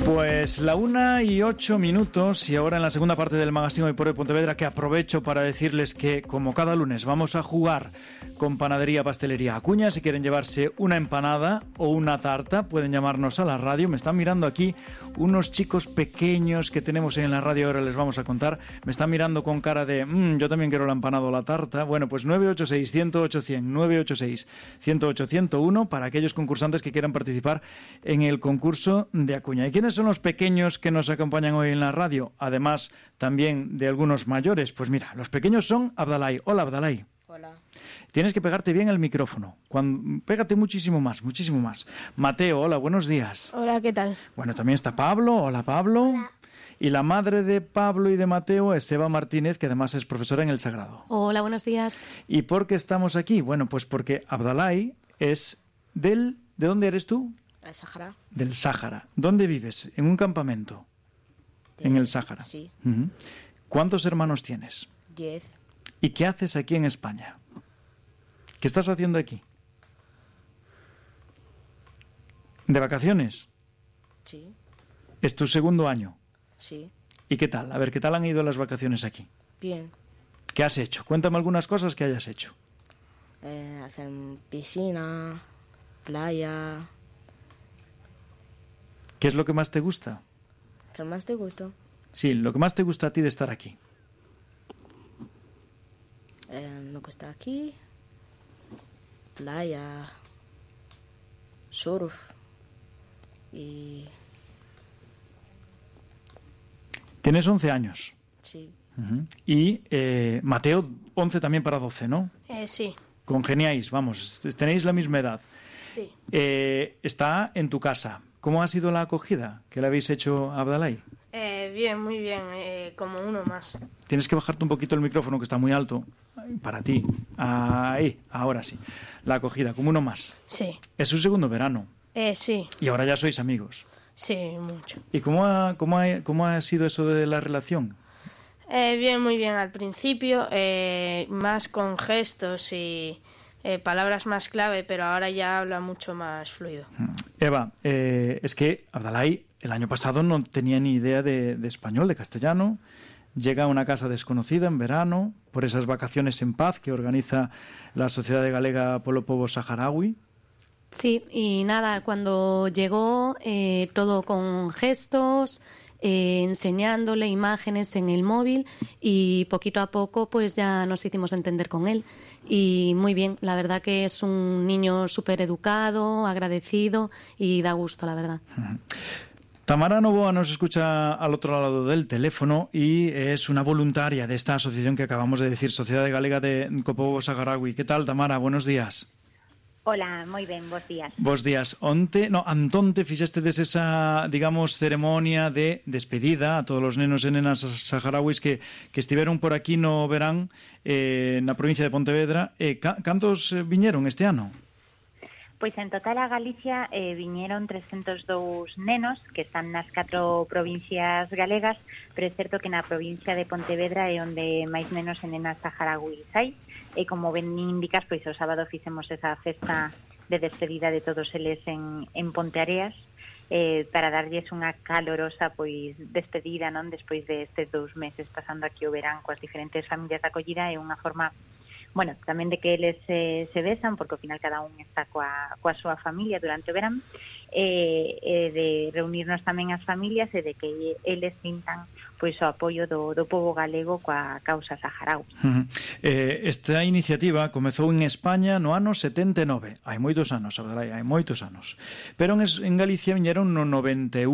Pues la 1:08 y ahora en la segunda parte del magazine Hoy por Hoy Pontevedra, que aprovecho para decirles que como cada lunes vamos a jugar con Panadería Pastelería Acuña. Si quieren llevarse una empanada o una tarta pueden llamarnos a la radio. Me están mirando aquí unos chicos pequeños que tenemos en la radio, ahora les vamos a contar. Me están mirando con cara de yo también quiero la empanada o la tarta. Bueno, pues 986-108-100, 986-108-101 para aquellos concursantes que quieran participar en el concurso de Acuña. ¿Y quiénes son los pequeños que nos acompañan hoy en la radio? Además también de algunos mayores. Pues mira, los pequeños son Abdalay. Hola, Abdalay. Hola. Tienes que pegarte bien el micrófono. Pégate muchísimo más, muchísimo más. Mateo, hola, buenos días. Hola, ¿qué tal? Bueno, también está Pablo. Hola, Pablo. Hola. Y la madre de Pablo y de Mateo es Eva Martínez, que además es profesora en el Sagrado. Hola, buenos días. ¿Y por qué estamos aquí? Bueno, pues porque Abdalay es ¿de dónde eres tú? ¿El Sáhara? Del Sáhara. ¿Dónde vives? ¿En un campamento? En el Sáhara. Sí. Uh-huh. ¿Cuántos hermanos tienes? 10. ¿Y qué haces aquí en España? ¿Qué estás haciendo aquí? ¿De vacaciones? Sí. ¿Es tu segundo año? Sí. ¿Y qué tal? A ver, ¿qué tal han ido las vacaciones aquí? Bien. ¿Qué has hecho? Cuéntame algunas cosas que hayas hecho. Hacer piscina, playa. ¿Qué es lo que más te gusta? ¿Qué más te gusta? Sí, lo que más te gusta a ti de estar aquí. Me gusta aquí. Playa. Surf. Y... Tienes 11 años. Sí. Uh-huh. Y Mateo, 11 también para 12, ¿no? Sí. Congeniáis, vamos, tenéis la misma edad. Sí. Está en tu casa. ¿Cómo ha sido la acogida que le habéis hecho a Abdalay? Bien, muy bien, como uno más. Tienes que bajarte un poquito el micrófono, que está muy alto, para ti. Ahí, ahora sí. La acogida, como uno más. Sí. Es su segundo verano. Sí. Y ahora ya sois amigos. Sí, mucho. ¿Y cómo ha sido eso de la relación? Bien, muy bien al principio, más con gestos y palabras más clave, pero ahora ya habla mucho más fluido. Eva, es que Abdalay el año pasado no tenía ni idea de español, de castellano. Llega a una casa desconocida en verano, por esas vacaciones en paz que organiza la Sociedad Galega polo Pobo Saharaui. Sí, y nada, cuando llegó todo con gestos, enseñándole imágenes en el móvil y poquito a poco pues ya nos hicimos entender con él y muy bien, la verdad que es un niño súper educado, agradecido y da gusto, la verdad. Tamara Novoa nos escucha al otro lado del teléfono y es una voluntaria de esta asociación que acabamos de decir, Sociedade Galega de Pobo Saharaui. ¿Qué tal, Tamara? Buenos días. Hola, moi ben, bos días. Bos días. Antonte fixestedes esa, digamos, ceremonia de despedida a todos os nenos e nenas saharauis que estiveron por aquí no verán na provincia de Pontevedra. Cantos viñeron este ano? Pois en total a Galicia viñeron 302 nenos que están nas 4 provincias galegas, pero é certo que na provincia de Pontevedra é onde máis nenos e nenas saharauis hai. E como ben indicas, pois o sábado fixemos esa festa de despedida de todos eles en Ponteareas para darlles unha calorosa pois despedida, non, despois de estes 2 meses pasando aquí o verán coas diferentes familias de acollida. É unha forma, bueno, tamén de que eles se besan, porque ao final cada un está coa súa familia durante o verán, de reunirnos tamén as familias e de que eles sintan pois o apoio do pobo galego coa causa saharaui. Esta iniciativa comezou en España no ano 79. Hai moitos anos, Abdalay, hai moitos anos. Pero en Galicia viñeron no 91.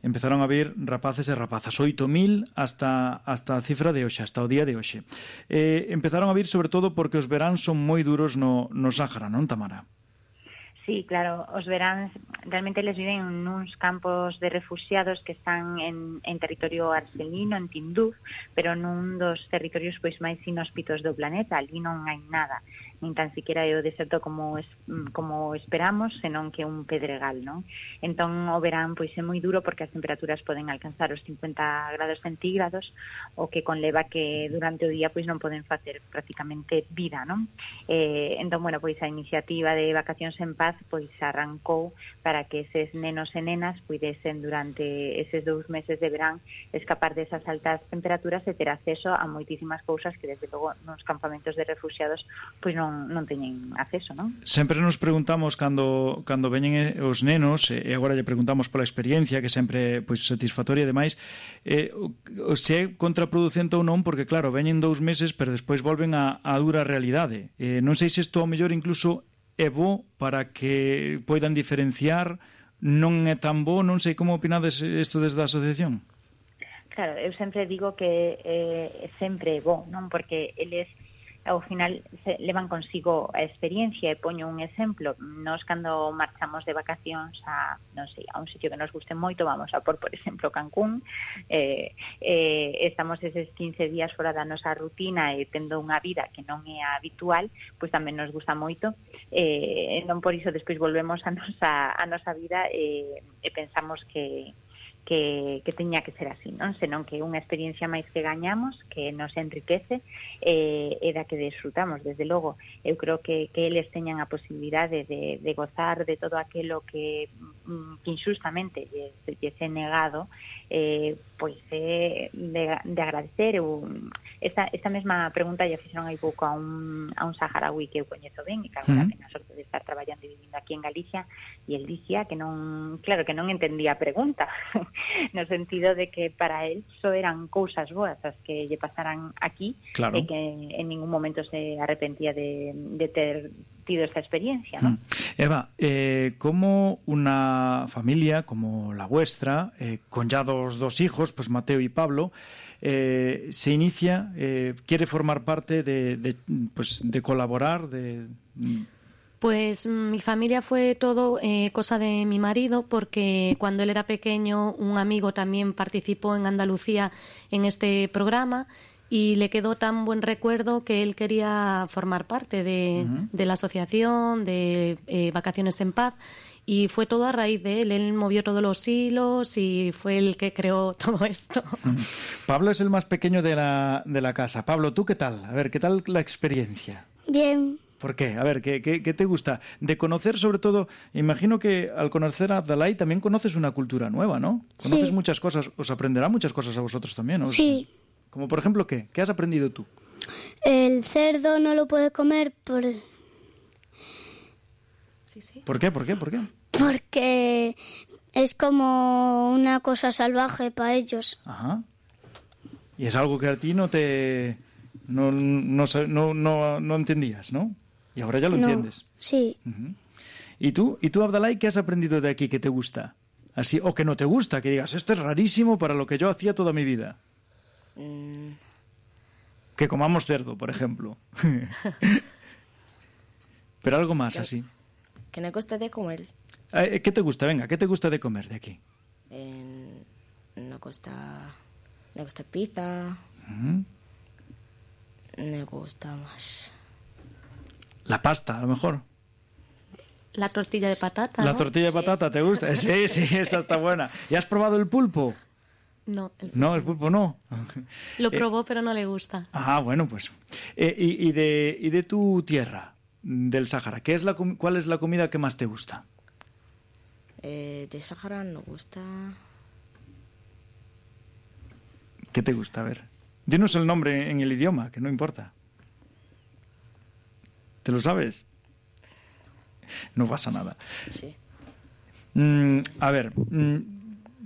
Empezaron a vir rapaces e rapazas, 8.000 hasta a cifra de hoxe, hasta o día de hoxe. Empezaron a vir sobre todo porque os veráns son moi duros no Sáhara, non, Tamara? Sí, claro, os veráns realmente les viven nuns campos de refugiados que están en territorio argelino, en Tinduf, pero nun dos territorios pois máis inhóspitos do planeta, ali non hai nada. nin tan siquiera é o deserto como esperamos, senón que un pedregal, non? Entón o verán pois é moi duro porque as temperaturas poden alcanzar os 50 grados centígrados, o que conleva que durante o día pois non poden facer prácticamente vida, non? Entón, bueno, pois a iniciativa de Vacacións en Paz pois arrancou para que eses nenos e nenas puidesen durante eses 2 meses de verán escapar desas altas temperaturas e ter acceso a moitísimas cousas que desde logo nos campamentos de refugiados pois non teñen acceso, non? Sempre nos preguntamos cando veñen os nenos, e agora lle preguntamos pola experiencia, que sempre pois satisfactoria e demais, se é contraproducente ou non, porque claro, veñen 2 meses, pero despois volven a dura realidade. Non sei se isto ao mellor incluso é bo para que poidan diferenciar, non é tan bo, non sei como opinades isto desde a asociación. Claro, eu sempre digo que sempre é bo, non? Porque eles ao final levan consigo a experiencia, e poño un exemplo. Nós cando marchamos de vacacións a, non sei, a un sitio que nos guste moito, vamos a por exemplo, Cancún, estamos eses 15 días fora da nosa rutina e tendo unha vida que non é habitual, pois tamén nos gusta moito, non por iso despois volvemos a nosa vida e pensamos que teña que ser así, non? Senón que é unha experiencia máis que gañamos, que nos enriquece e da que desfrutamos. Desde logo, eu creo que eles teñan a posibilidade de gozar de todo aquilo que injustamente lles é negado, pois é de agradecer. Esta mesma pregunta ya fixeron hai pouco a un saharaui que eu coñezo ben, e que agora ten a sorte de estar traballando e vivindo aquí en Galicia, e el dicía que non entendía a pregunta, no sentido de que para él só eran cousas boas as que lle pasaran aquí, claro, e que en ningún momento se arrepentía de ter tido esta experiencia, ¿no? Eva, como una familia como la vuestra, con ya dos hijos, pues Mateo y Pablo, se inicia, quiere formar parte de colaborar, Pues mi familia fue todo cosa de mi marido, porque cuando él era pequeño un amigo también participó en Andalucía en este programa y le quedó tan buen recuerdo que él quería formar parte de la asociación, de Vacaciones en Paz, y fue todo a raíz de él. Él movió todos los hilos y fue el que creó todo esto. Pablo es el más pequeño de la casa. Pablo, ¿tú qué tal? A ver, ¿qué tal la experiencia? Bien. ¿Por qué? A ver, ¿qué te gusta? De conocer, sobre todo, imagino que al conocer a Abdalai también conoces una cultura nueva, ¿no? Conoces sí. Muchas cosas, os aprenderá muchas cosas a vosotros también, ¿no? Sí. Como por ejemplo, ¿qué? ¿Qué has aprendido tú? El cerdo no lo puede comer por... Sí. ¿Por qué? Porque es como una cosa salvaje para ellos. Ajá. Y es algo que a ti no entendías, ¿no? Y ahora ya lo entiendes. Sí. Uh-huh. ¿Y tú, Abdalai, qué has aprendido de aquí que te gusta? Así, o que no te gusta, que digas, esto es rarísimo para lo que yo hacía toda mi vida. Que comamos cerdo, por ejemplo. Pero algo más así. Que me gusta de comer. ¿Qué te gusta? Venga, ¿qué te gusta de comer de aquí? Me gusta pizza. Uh-huh. Me gusta más. La pasta, a lo mejor. La tortilla de patata, La ¿no? tortilla de patata, ¿te gusta? Sí, esa está buena. ¿Y has probado el pulpo? No, el pulpo no. Lo probó, pero no le gusta. Ah, bueno, pues. ¿Y de tu tierra, del Sáhara, cuál es la comida que más te gusta? De Sáhara me gusta... ¿Qué te gusta? A ver. Dinos el nombre en el idioma, que no importa. ¿Te lo sabes? No pasa nada. Sí. A ver,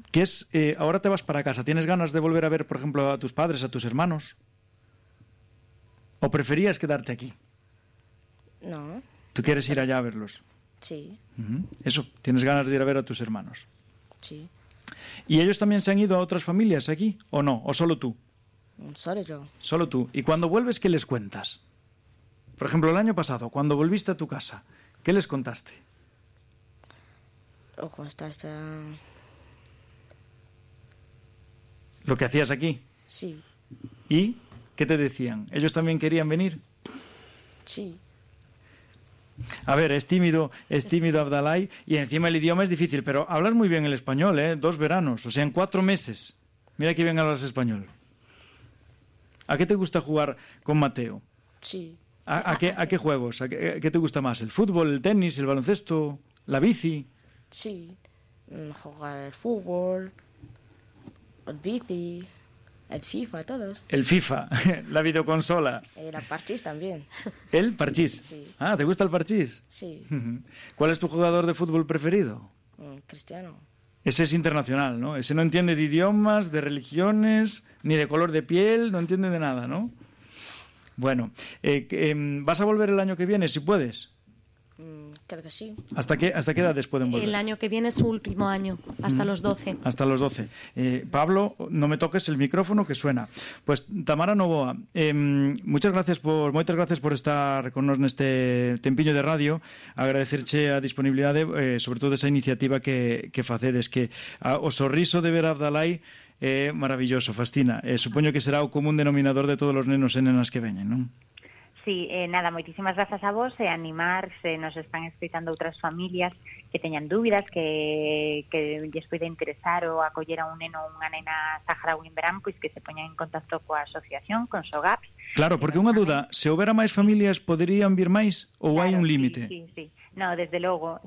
¿qué es? Ahora te vas para casa. ¿Tienes ganas de volver a ver, por ejemplo, a tus padres, a tus hermanos? ¿O preferías quedarte aquí? No. ¿Tú quieres ir allá a verlos? Sí. Uh-huh. Eso, ¿tienes ganas de ir a ver a tus hermanos? Sí. ¿Y ellos también se han ido a otras familias aquí? ¿O no? ¿O solo tú? Solo yo. Solo tú. ¿Y cuando vuelves, qué les cuentas? Por ejemplo, el año pasado, cuando volviste a tu casa, ¿qué les contaste? ¿O cómo estás? ¿Lo que hacías aquí? Sí. ¿Y qué te decían? ¿Ellos también querían venir? Sí. A ver, es tímido Abdalai, y encima el idioma es difícil, pero hablas muy bien el español, 2 veranos, o sea, en 4 meses. Mira que bien hablas español. ¿A qué te gusta jugar con Mateo? Sí. ¿A qué juegos? ¿A qué te gusta más? ¿El fútbol, el tenis, el baloncesto, la bici? Sí. Jugar al fútbol, el bici, el FIFA, todos. El FIFA, la videoconsola. La parchís también. ¿El parchís? Sí. Ah, ¿te gusta el parchís? Sí. ¿Cuál es tu jugador de fútbol preferido? Cristiano. Ese es internacional, ¿no? Ese no entiende de idiomas, de religiones, ni de color de piel, no entiende de nada, ¿no? Bueno, ¿vas a volver el año que viene, si puedes? Creo que sí. ¿Hasta qué edades pueden volver? El año que viene es su último año, hasta los 12. Hasta los 12. Pablo, no me toques el micrófono que suena. Pues Tamara Novoa, moitas gracias por estar con nos neste tempiño de radio. Agradecerche a disponibilidade, sobre todo esa iniciativa que facedes, que o sorriso de ver a Abdalai é maravilloso, fascina. Supoño que será o común denominador de todos os nenos e nenas que veñen, non? Sí, nada, moitísimas grazas a vos e animar se nos están escoitando outras familias que teñan dúbidas, que lles poida interesar ou acoller a un neno ou unha nena saharaui en verán, pois que se poñan en contacto coa asociación, con SOGAPS. Claro, porque unha duda, se houbera máis familias, poderían vir máis ou hai un límite? Sí. No, desde logo,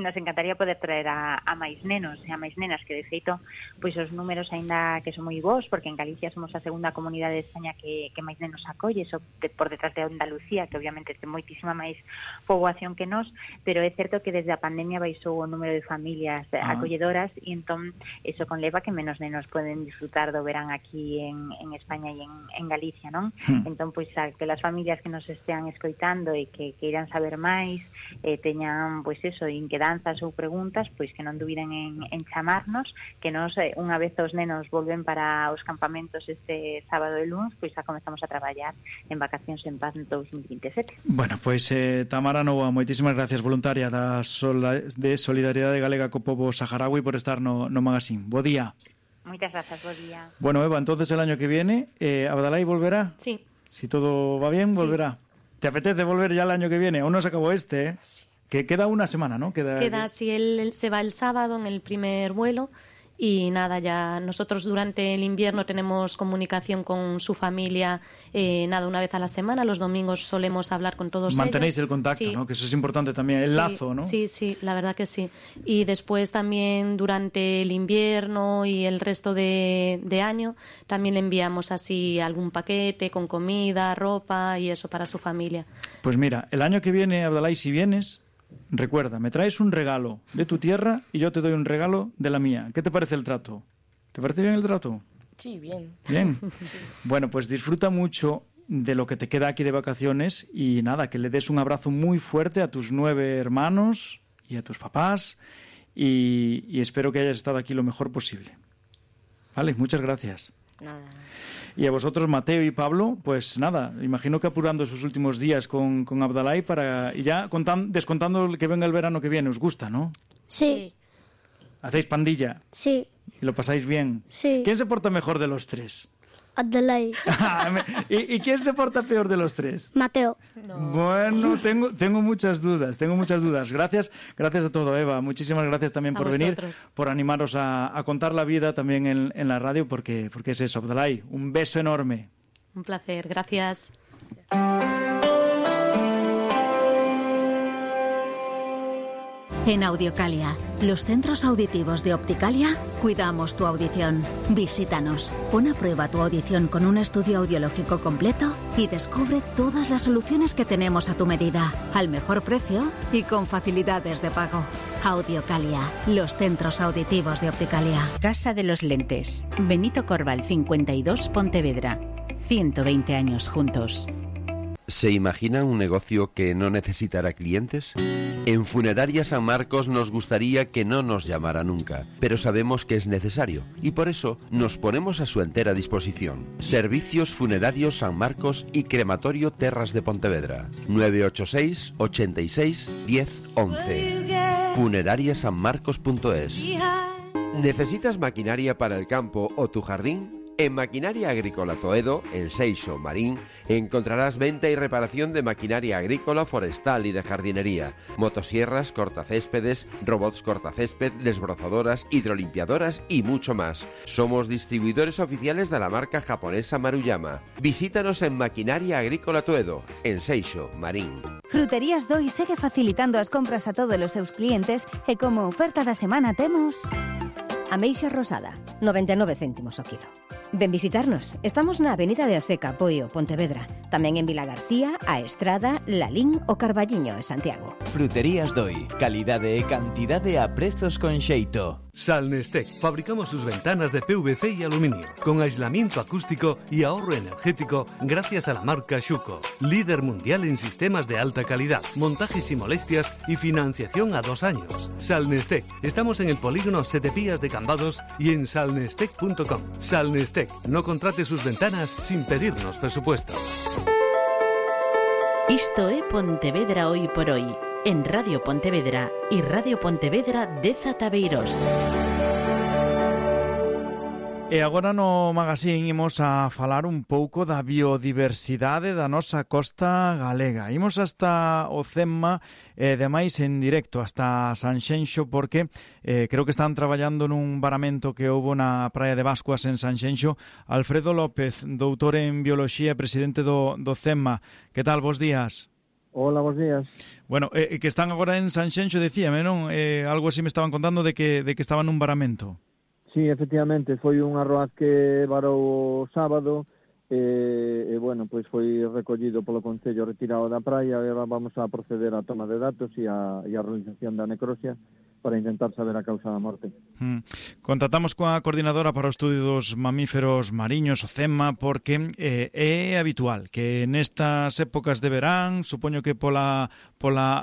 nos encantaría poder traer a máis nenos e a máis nenas, que de feito, pois os números aínda que son moi bons, porque en Galicia somos a segunda comunidade de España que máis nenos acolle, por detrás de Andalucía, que obviamente ten moitísima máis poboación que nós, pero é certo que desde a pandemia baixou o número de familias acolledoras, e entón eso conleva que menos nenos poden disfrutar do verán aquí en España e en Galicia, non? Entón, pois, que las familias que nos estean escoitando e que queiran saber máis, teñan, pois eso, inquedanzas ou preguntas, pois que non dubiden en chamarnos, que nos, unha vez os nenos volven para os campamentos este sábado e luns, pois xa comezamos a traballar en Vacacións en Paz 2027. Bueno, pois Tamara Novoa, moitísimas gracias, voluntaria de Solidariedade Galega co pobo saharaui, por estar no magazine. Bo día. Moitas grazas, bo día. Bueno, Eva, entonces el año que viene, Abdalai volverá. Sí. Si todo va bien, volverá. ¿Te apetece volver ya el año que viene? Aún no se acabó este, Sí. Que queda una semana, ¿no? Queda si él se va el sábado en el primer vuelo. Y nada, ya nosotros durante el invierno tenemos comunicación con su familia, una vez a la semana. Los domingos solemos hablar con todos ellos. Mantenéis el contacto, sí. ¿no? Que eso es importante también, el lazo, ¿no? Sí, la verdad que sí. Y después también durante el invierno y el resto de año también le enviamos así algún paquete con comida, ropa y eso para su familia. Pues mira, el año que viene, Abdalai, si vienes, recuerda, me traes un regalo de tu tierra y yo te doy un regalo de la mía. ¿Qué te parece el trato? ¿Te parece bien el trato? Sí, bien. Bien. Sí. Bueno, pues disfruta mucho de lo que te queda aquí de vacaciones y nada, que le des un abrazo muy fuerte a tus 9 hermanos y a tus papás y espero que hayas estado aquí lo mejor posible. Vale, muchas gracias. Nada. Y a vosotros, Mateo y Pablo, pues nada, imagino que apurando sus últimos días con Abdalai y ya descontando que venga el verano que viene, ¿os gusta, no? Sí, ¿Hacéis pandilla? sí, ¿Y lo pasáis bien? sí. ¿Quién se porta mejor de los 3? Abdalai. ¿Y quién se porta peor de los 3? Mateo. Bueno, tengo muchas dudas, Gracias a todo, Eva. Muchísimas gracias también por venir, por animaros a contar la vida también en la radio, porque es eso, Abdalai. Un beso enorme. Un placer, gracias. En Audiocalia, los centros auditivos de Opticalia, cuidamos tu audición. Visítanos, pon a prueba tu audición con un estudio audiológico completo y descubre todas las soluciones que tenemos a tu medida, al mejor precio y con facilidades de pago. Audiocalia, los centros auditivos de Opticalia. Casa de los Lentes, Benito Corval 52, Pontevedra. 120 años juntos. ¿Se imagina un negocio que no necesitará clientes? En Funeraria San Marcos nos gustaría que no nos llamara nunca, pero sabemos que es necesario y por eso nos ponemos a su entera disposición. Servicios Funerarios San Marcos y Crematorio Terras de Pontevedra. 986 86 10 11. Funerariasanmarcos.es. ¿Necesitas maquinaria para el campo o tu jardín? En Maquinaria Agrícola Toedo, en Seixo, Marín, encontrarás venta y reparación de maquinaria agrícola, forestal y de jardinería, motosierras, cortacéspedes, robots cortacésped, desbrozadoras, hidrolimpiadoras y mucho más. Somos distribuidores oficiales de la marca japonesa Maruyama. Visítanos en Maquinaria Agrícola Toedo, en Seixo, Marín. Fruterías Doi segue facilitando as compras a todos os seus clientes e como oferta da semana temos... Ameixa rosada, 99 céntimos o kilo. Ven visitarnos. Estamos na Avenida de Aseca, Poio, Pontevedra. Tamén en Vilagarcía, A Estrada, Lalín o Carballiño, en Santiago. Fruterías Doi. Calidade e cantidade a prezos con xeito. Salnestec. Fabricamos sus ventanas de PVC y aluminio, con aislamiento acústico y ahorro energético gracias a la marca Schuco. Líder mundial en sistemas de alta calidad, montajes y molestias y financiación a 2 años. Salnestec. Estamos en el polígono Setepías de Cambados y en salnestec.com. Salnestec. No contrate sus ventanas sin pedirnos presupuesto. Isto é Pontevedra Hoy por Hoy, en Radio Pontevedra y Radio Pontevedra de Zataveiros. E agora no magazín imos a falar un pouco da biodiversidade da nosa costa galega. Imos hasta o Cemma, demais en directo, hasta Sanxenxo, porque creo que están traballando nun varamento que houbo na praia de Bascuas en Sanxenxo. Alfredo López, doutor en Bioloxía e presidente do Cemma. Que tal, bos días? Hola, bos días. Bueno, que están agora en Sanxenxo, decíame, non? Algo así me estaban contando de que estaban nun varamento. Sí, efectivamente, foi un arroaz que varou o sábado e bueno, pois foi recollido polo Concello, retirado da praia, e agora vamos a proceder á toma de datos e a realización da necrosia para intentar saber a causa da morte. Contactamos coa coordinadora para o estudio dos mamíferos mariños, o CEMA, porque é habitual que nestas épocas de verán, supoño que pola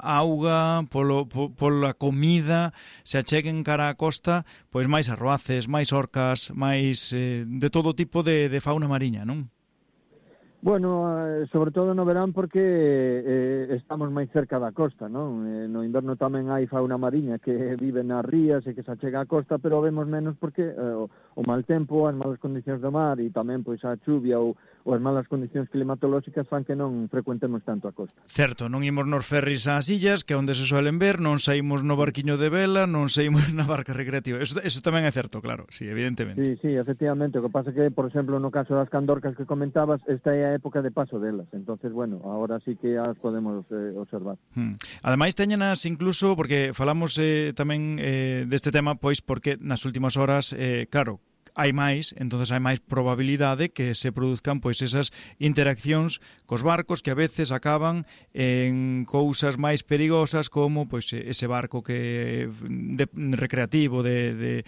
auga, pola comida, se acheguen cara a costa, pois máis arroaces, máis orcas, máis de todo tipo de fauna mariña, non? Bueno, sobre todo no verán porque estamos máis cerca da costa, non? No inverno tamén hai fauna mariña que vive nas rías e que se achega á costa, pero vemos menos porque o mal tempo, as malas condicións do mar e tamén pois a chuvia ou as malas condicións climatolóxicas fan que non frecuentemos tanto a costa. Certo, non imos nos ferris ás illas, que é onde se suelen ver, non saímos no barquiño de vela, non saímos na barca recreativa. Eso tamén é certo, claro, sí, evidentemente. Sí, efectivamente. O que pasa que, por exemplo, no caso das candorcas que comentabas, esta é a época de paso delas. Entonces, bueno, ahora sí que as podemos observar. Ademais, teñenas incluso, porque falamos tamén deste tema, pois porque nas últimas horas, claro, hai máis, entonces hai máis probabilidade que se produzcan pois esas interaccións cos barcos que a veces acaban en cousas máis perigosas como pois ese barco que recreativo de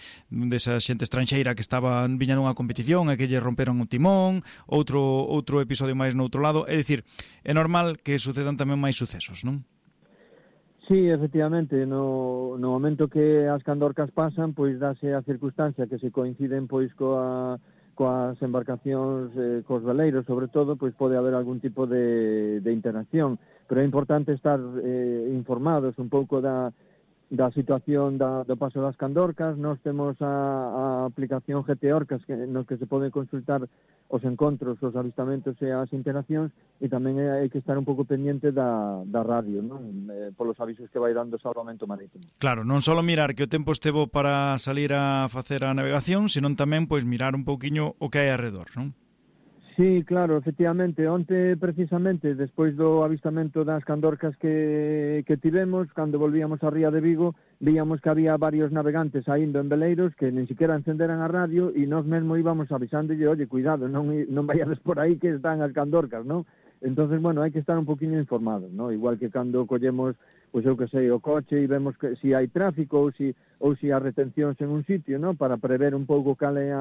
esa xente estranxeira que estaba viña dunha competición e que lle romperon o timón, outro episodio máis no outro lado, é dicir, é normal que sucedan tamén máis sucesos, non? Sí, efectivamente, no momento que as candorcas pasan, pois dáse a circunstancia que se coinciden pois coas embarcacións, cos veleiros, sobre todo, pois pode haber algún tipo de interacción, pero é importante estar informados un pouco da situación do paso das candorcas. Nós temos a aplicación GT-Orcas nos que se poden consultar os encontros, os avistamentos e as interaccións, e tamén hai que estar un pouco pendiente da radio, non? Polos avisos que vai dando o Salvamento Marítimo. Claro, non só mirar que o tempo estevo para salir a facer a navegación, senón tamén pois mirar un pouquiño o que hai alrededor, non? Sí, claro, efectivamente. Onte, precisamente, despois do avistamento das candorcas que tivemos, cando volvíamos á ría de Vigo, víamos que había varios navegantes saindo en veleiros que nin siquiera encenderan a radio e nós mesmo íbamos avisándolle, oye, cuidado, non vayades por aí que están as candorcas, non? Entonces, bueno, hai que estar un poquinho informados, non? Igual que cando collemos, pois eu que sei, o coche e vemos que si hai tráfico ou si hai retencións en un sitio, non? Para prever un pouco cal é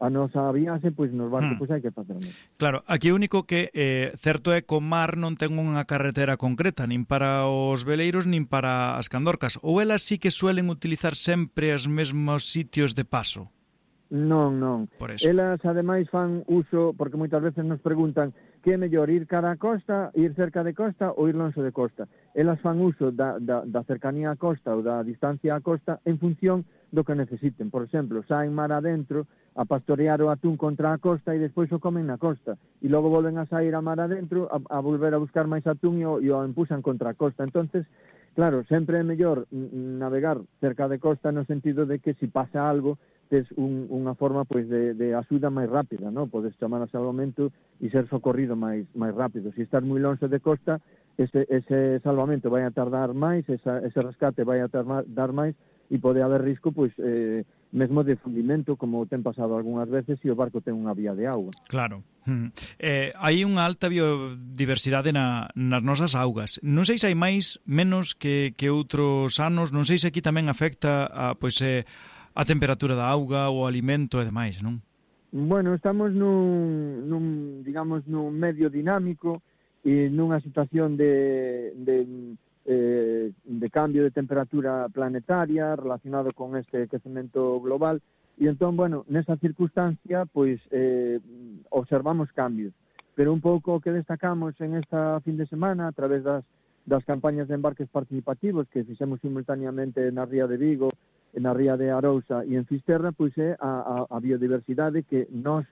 a nosa viaxe, pois nos barcos pois hai que facer. Claro, aquí o único que certo é que o mar non ten unha carretera concreta, nin para os veleiros, nin para as candorcas. Ou elas sí que suelen utilizar sempre os mesmos sitios de paso? Non. Por eso. Elas, ademais, fan uso, porque moitas veces nos preguntan que é mellor ir cara a costa, ir cerca de costa ou ir longe de costa. Elas fan uso da cercanía á costa ou da distancia á costa en función do que necesiten. Por exemplo, saen mar adentro a pastorear o atún contra a costa e despois o comen na costa. E logo volven a sair a mar adentro a volver a buscar máis atún e o empuxan contra a costa. Entonces, claro, sempre é mellor navegar cerca de costa no sentido de que se pasa algo, tes unha forma pois de axuda máis rápida, ¿no? Podes chamar a salvamento e ser socorrido máis rápido. Se estás moi longe de costa, ese salvamento vai a tardar máis, ese rescate vai a tardar máis e pode haber risco pois mesmo de fundimento, como ten pasado algunhas veces se o barco ten unha vía de auga. Claro. Hai unha alta biodiversidade nas nosas augas. Non sei se hai menos que outros anos, non sei se aquí tamén afecta a temperatura da auga, o alimento e demais, non? Bueno, estamos nun medio dinámico e nunha situación de cambio de temperatura planetaria relacionado con este aquecemento global e entón, bueno, nesa circunstancia pois observamos cambios, pero un pouco o que destacamos en esta fin de semana a través das campañas de embarques participativos que fixemos simultaneamente na Ría de Vigo, na Ría de Arousa e en Fisterra, pois é a biodiversidade que nós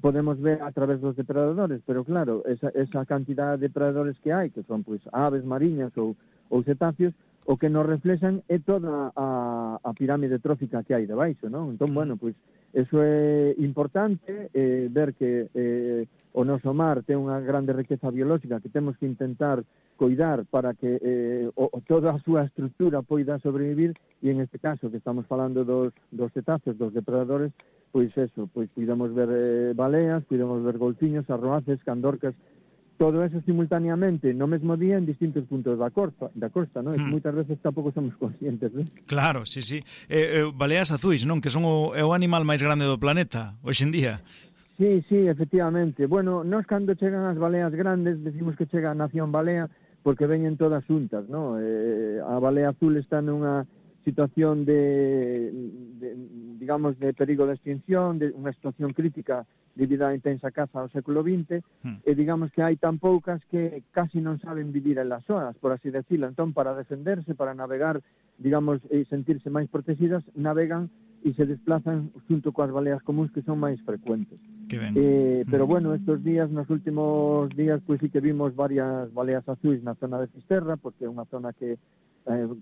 podemos ver a través dos depredadores, pero claro, esa cantidad de depredadores que hai, que son pois aves mariñas ou cetáceos, o que nos reflexan é toda a pirámide trófica que hai debaixo, non? Entón, bueno, pois eso é importante, ver que o noso mar ten unha grande riqueza biolóxica que temos que intentar coidar para que toda a súa estructura poida sobrevivir e en este caso que estamos falando dos cetáceos, dos depredadores, pois eso, pois podemos ver baleas, podemos ver golfiños, arroaces, candorcas, todo eso simultaneamente no mesmo día en distintos puntos da costa, non? E moitas veces tampouco somos conscientes, non? Claro, sí. Baleas azuis, non? Que son o animal máis grande do planeta hoxe en día. Sí, efectivamente. Bueno, nós cando chegan as baleas grandes decimos que chega a nación balea porque veñen todas xuntas, non? A balea azul está nunha situación de perigo de extinción, de unha situación crítica debido á intensa caza ao século XX, e digamos que hai tan poucas que casi non saben vivir en las zonas, por así decirlo. Entón, para defenderse, para navegar, digamos, e sentirse máis protegidas, navegan e se desplazan junto coas baleas comuns que son máis frecuentes. Pero bueno, estos días, nos últimos días, pois sí que vimos varias baleas azuis na zona de Fisterra, porque é unha zona que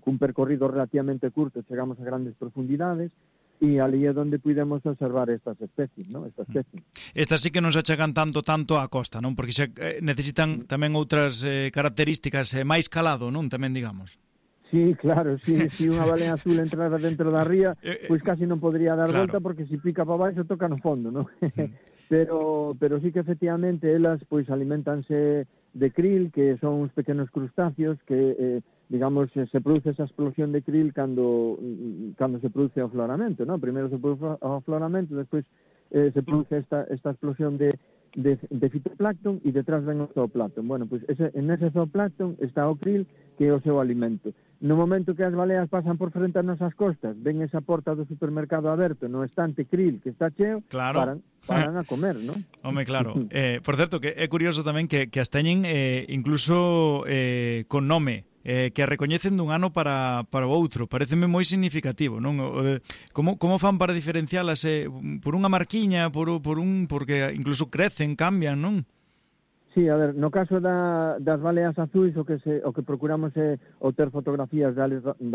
cun percorrido relativamente curto chegamos a grandes profundidades e ali é onde podemos observar estas especies, non? Estas sí que non se achegan tanto á costa, non? Porque necesitan tamén outras características máis calado, non? Tamén, digamos. Sí, claro, sí, unha balea azul entrara dentro da ría, pois casi non podría dar volta porque se pica para baixo toca no fondo, non? Pero sí que efectivamente elas pois alimentanse de krill, que son uns pequenos crustáceos que digamos, se produce esa explosión de krill cando se produce o afloramento, ¿no? Primeiro se produce o afloramento, despois se produce esta explosión de fitoplancton e detrás ven o zooplancton. Bueno, pois en ese zooplancton está o krill, que é o seu alimento. No momento que as baleas pasan por frente a nosas costas, ven esa porta do supermercado aberto, no estante krill que está cheo, paran a comer, non? Home, claro. Por certo, que é curioso tamén que as teñen incluso con nome, que a recoñecen dun ano para o outro. Pareceme moi significativo, non? Como fan para diferencialas? Por unha marquiña, porque incluso crecen, cambian, non? Sí, a ver, no caso das baleas azuis o que procuramos é o ter fotografías da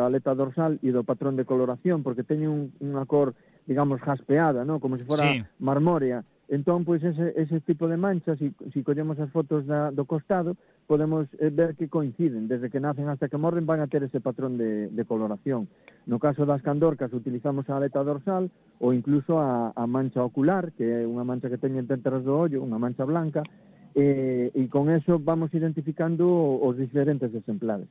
aleta dorsal e do patrón de coloración, porque teñen unha cor, digamos, jaspeada, ¿no? Como se fora marmórea. Entón, pois, ese tipo de manchas, se collemos as fotos do costado, podemos ver que coinciden. Desde que nacen hasta que morren van a ter ese patrón de coloración. No caso das candorcas utilizamos a aleta dorsal ou incluso a mancha ocular, que é unha mancha que teñen detrás do ollo, unha mancha blanca, e con eso vamos identificando os diferentes exemplares.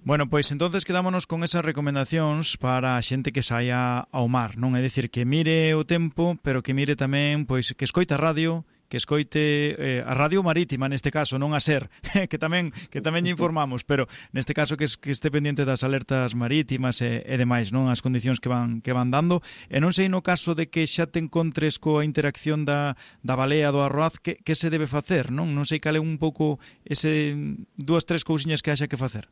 Bueno, pois entonces quedámonos con esas recomendacións para a xente que saia ao mar, non? É dicir, que mire o tempo, pero que mire tamén, pois, que escoita a radio que escoite a Radio Marítima neste caso, non a SER, que tamén lle informamos, pero neste caso que este pendiente das alertas marítimas e demais, non, as condicións que van dando. E non sei, no caso de que xa te encontres coa interacción da balea do arroaz, que se debe facer, non? Non sei cal é un pouco ese 2-3 cousiñas que haxa que facer.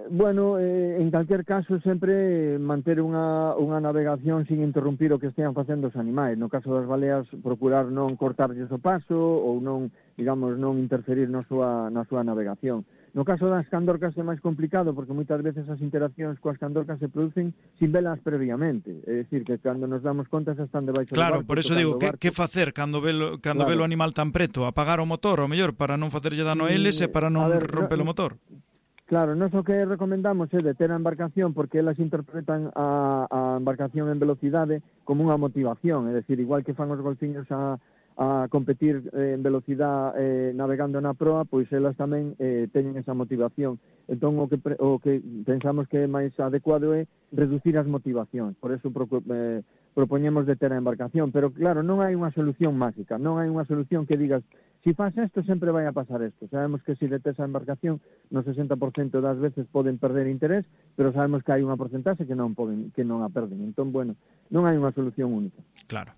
Bueno, en calquer caso sempre manter unha navegación sin interrumpir o que estean facendo os animais. No caso das baleas, procurar non cortarlles o paso ou non, digamos, non interferir na súa navegación. No caso das candorcas é máis complicado porque moitas veces as interaccións coas candorcas se producen sin velas previamente. É dicir, que cando nos damos conta xa están debaixo do barco. Claro, por eso digo, que facer cando ve o animal tan preto? Apagar o motor, o mellor, para non facerlle dano a eles e para non romper o motor? Claro, nós o que recomendamos é deter a embarcación porque elas interpretan a embarcación en velocidade como unha motivación, é dicir, igual que fan os golfiños a competir en velocidade navegando na proa, pois elas tamén teñen esa motivación. Entón, o que pensamos que é máis adecuado é reducir as motivacións, por eso propoñemos deter a embarcación, pero claro, non hai unha solución máxica, non hai unha solución que digas si faz isto, sempre vai a pasar isto. Sabemos que se detes a embarcación, no 60% das veces poden perder interés, pero sabemos que hai unha porcentaxe que non a perden. Entón, bueno, non hai unha solución única. Claro.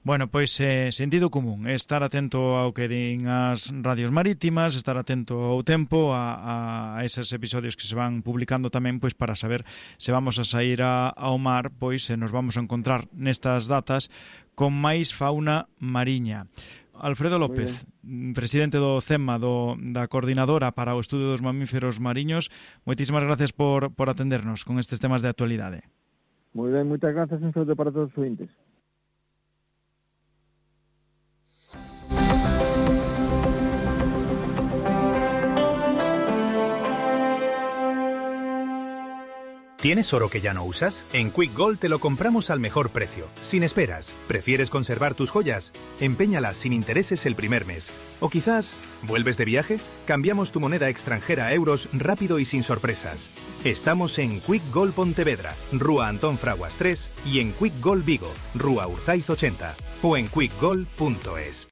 Bueno, pois sentido común, estar atento ao que din as radios marítimas, estar atento ao tempo, a esos episodios que se van publicando tamén, pois para saber se vamos a sair ao mar, pois se nos vamos a encontrar nestas datas con máis fauna mariña. Alfredo López, presidente do CEMA, da Coordinadora para o Estudo dos Mamíferos Mariños, moitísimas gracias por atendernos con estes temas de actualidade. Moi ben, moitas gracias, un saúdo para todos os ointes. ¿Tienes oro que ya no usas? En Quick Gold te lo compramos al mejor precio, sin esperas. ¿Prefieres conservar tus joyas? Empeñalas sin intereses el primer mes. O quizás, ¿vuelves de viaje? Cambiamos tu moneda extranjera a euros rápido y sin sorpresas. Estamos en Quick Gold Pontevedra, Rúa Antón Fraguas 3 y en Quick Gold Vigo, Rúa Urzaiz 80 o en quickgold.es.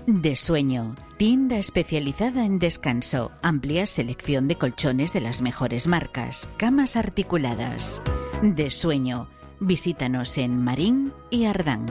De Sueño, tienda especializada en descanso, amplia selección de colchones de las mejores marcas, camas articuladas. De Sueño, visítanos en Marín y Ardán.